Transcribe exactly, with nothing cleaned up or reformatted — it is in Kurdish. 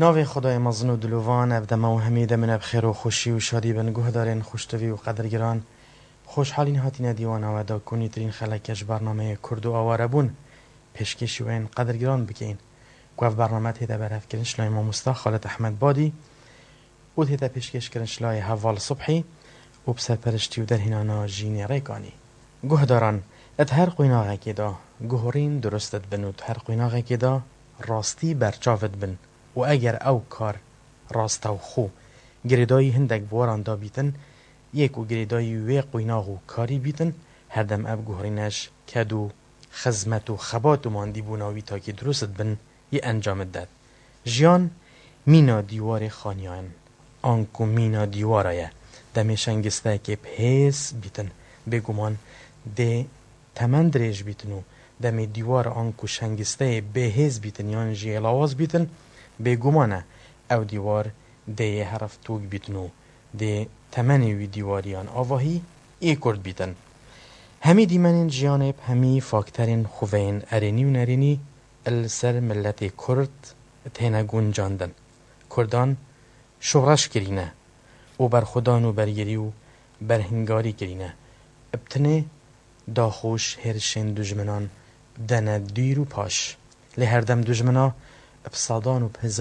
Navê Xwedayê mezin û dilovan, ev dema û hemî demine bi xêr û xweşî û şadî bin, guhdarên xweştivî û qedirgiran. Xoşhalîn hatîne dîwana we da ku nîtirîn xeleke ji bernameyê Kurd û Awarebûn pêşkêşî we yên qedirgiran bikeyin. Ku ev bername tête berhevkirin ji layê mamosta Xalid Ehmed Badî û tête pêşkêşkirin ji layê Heval Subhî û bi serperiştî û derhênana Jînê Rêkanî. Guhdaran, di her qoynaxekê de guhorîn durust dibin û di her qoynaxekê de rastî berçav dibin û eger ew kar rastewxo girêdayî hindek bi waran da bîtin, yê ku girêdayî wê qoynax û karî bîtin, herdem ev guhorîne ji ked û xizmet û xebat û mandîbûna wî takî durust dibin, yê encam didet. Jiyan mîna dîwarê xaniyan, anku mîna dîwara ye. Demê şengisteyekê bi hêz bîtin, bêguman dê temen dirêj bîtin û demê dîwar anku şengisteyê bêhêz bîtin yan jî lawaz bîtin, bêguman e ew dîwar dê yê herif tûk bîtin û dê temenê wî dîwariyan avahî ê kurt bîtin. Hemî dîmenên jiyanê bi hemî fakterên xweveyên erênî û nerênî li ser miletê Kurd têne guncandin. Kurdan şoreş kirîne û berxwedan û bergirî û berhingarî kirîne. Bi tinê daxuş hêrişên dujminan dene dûr û paş. Lê herdem dujmina bi sedan û bi hezar